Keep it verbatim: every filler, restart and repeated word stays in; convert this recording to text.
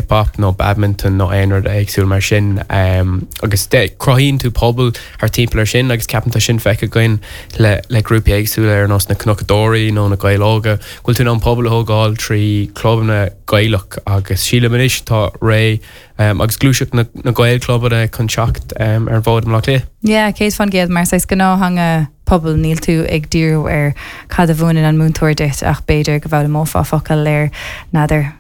Hip-hop nó badminton nó aon rud éagsúil mar sin um, agus cruthaíonn tú pobal thar timpeall ar sin agus ceapaim tá sin feicthe againn le le grúpaí éagsúla ar nós na Cnocadóirí nó na Gaeil Óga go bhfuil tú in ann pobal a thógáil trí clubanna Gaelach agus sílim anois tá ré um, agus gluaiseacht na, na Gaelchlubanna chun teacht um, ar an bhfód i mBaile Átha Cliath. Yeah, céad faoin gcéad mar saghas gnáth-theanga pobal níl tú ag díriú ar cad a mhúineann an múinteoir duit ach b'fhéidir go bhfoghlaimeofá focal ar n'fheadar